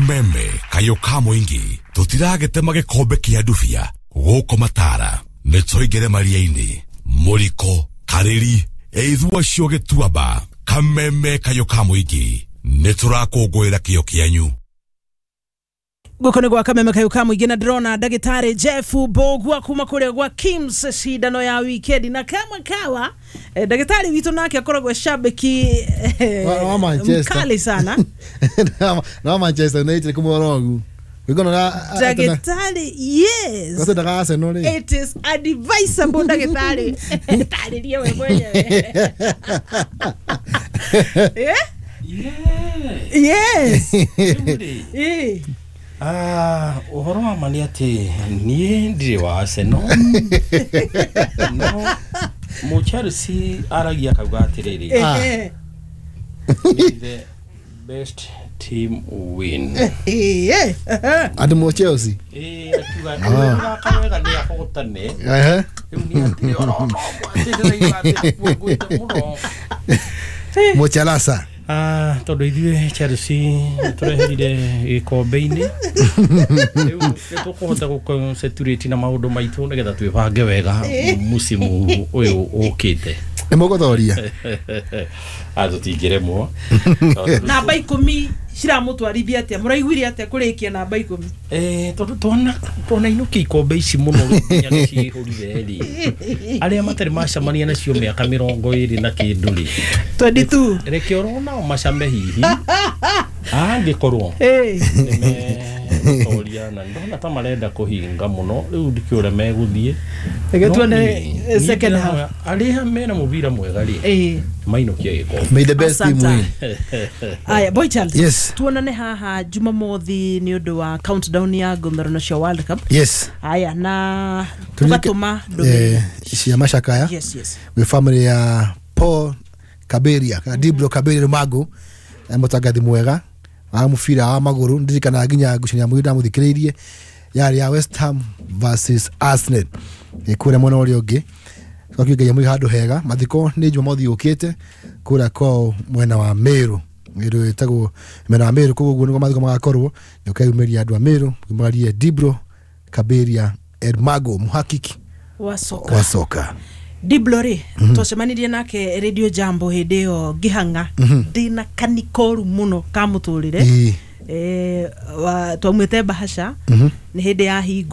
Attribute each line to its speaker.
Speaker 1: Kameme kayũ ka mũingĩ tũtiragĩtema gĩkombe kĩa ndubia gũkũ matara nĩ tũingĩre maria-inĩ mũriko karĩri ĩithua cio gĩtuamba. Kameme kayũ ka mũingĩ nĩ tũrakũngũĩra kĩo kĩanyu.
Speaker 2: Guko nĩ gwa Kameme kayũ ka mũingĩ, na ndĩrona ndagĩtarĩ Jeff Mbũgua kuma kũrĩa gwa Kims, cindano ya wikendi na kama kawa, ndagĩtarĩ witũ nake akoragwo shabiki
Speaker 3: wa Manchester.
Speaker 2: Mkali sana.
Speaker 3: Na Manchester United kumorogu wigona na
Speaker 2: ndagĩtarĩ, yes.
Speaker 3: Gose Arsenal rĩ.
Speaker 2: It is advisable, ndagĩtarĩ, tarĩrie we mwenyewe. Eh? Yes. Eh.
Speaker 4: Ah, ũhoro wa ma nĩ atĩ niĩ ndirĩ wa Arsenal, no mũ Chelsea aragia akauga atĩrĩrĩ, "May the best team win."
Speaker 3: Andũ mo Chelsea.
Speaker 4: Ĩĩ, akiuga ũrĩa wega nĩ ahotane. Rĩu nĩ atĩrĩ oro no atĩ ndĩraigua atĩ kuonguĩte mũno.
Speaker 3: Mochalasa.
Speaker 4: Ah, tondũ ithuĩ Chelsea nĩ tũreherire gĩkombe-inĩ, rĩu nĩ tũkũhota gũconcentrate na maũndũ maitũ nĩgetha twĩbange wega musimu ũyũ ũkĩte.
Speaker 3: Nĩ mũgũthoria.
Speaker 4: Ah, tũtingĩremwo.
Speaker 2: Namba 10 ciramũtwarithia atĩa? Mũraiguire atĩa kũrĩkia namba 10?
Speaker 4: Eh, tondũ twanainũkia ikombe ici mũno, rĩu nginya nĩ ciihũrire rĩ, arĩa matarĩ macemania nacio mĩaka 20 na kĩndũ rĩ,
Speaker 2: 22.
Speaker 4: Reke oro nao macame, hihi angĩkorwo nĩmetoria, na ndona ta marenda kũhinga mũno, rĩu ndikĩũrĩa megũthiĩ.
Speaker 2: Reke
Speaker 4: No
Speaker 2: tuone,
Speaker 4: niĩ
Speaker 2: second half.
Speaker 4: ndĩrahoya arĩa mena mũbira mwega rĩ, mainũkie gĩkombe.
Speaker 3: May the best team
Speaker 2: Asante.
Speaker 3: win.
Speaker 2: Aya, boy child.
Speaker 3: Yes.
Speaker 2: Tuonane haha Jumamothi nĩ ũndũ wa countdown ya ngũmberano cia World Cup.
Speaker 3: Yes.
Speaker 2: Aya, na tũgatũma ndũmĩrĩri
Speaker 3: cia macakaya gwĩ family ya Paul Kaberia kana Dibro Kaberia Rumagu, mũtangathi mwega wa mũbira wa magũrũ. Ndirikanaga nginya ngucanio ya mũthia ndamũthikĩrĩirie yarĩ ya West Ham versus Arsenal, kũrĩa mwena ũrĩa ũngĩ. Twakiuga Ngai amũige handũ hega. Mathiko nĩ Jumamothi yũkĩte kũrĩa kwao mwena wa Meru, Meru ĩtagwo mwena wa Meru kũu, ũguo nĩguo mathiko magakorwo. Nĩ ũkeyumĩria andũ a Meru mũgarie Dibro Kaberia Ermago, muhakiki
Speaker 2: wa soka.
Speaker 3: Wa soka.
Speaker 2: Diblo rĩ, twacemanirie nake Radio Jambo hĩndĩ ĩyo ngĩhang'a ndĩna kanikoru mũno ka mũtũrĩre. Twaumĩte bahasha, nĩ hĩndĩ ya hingo.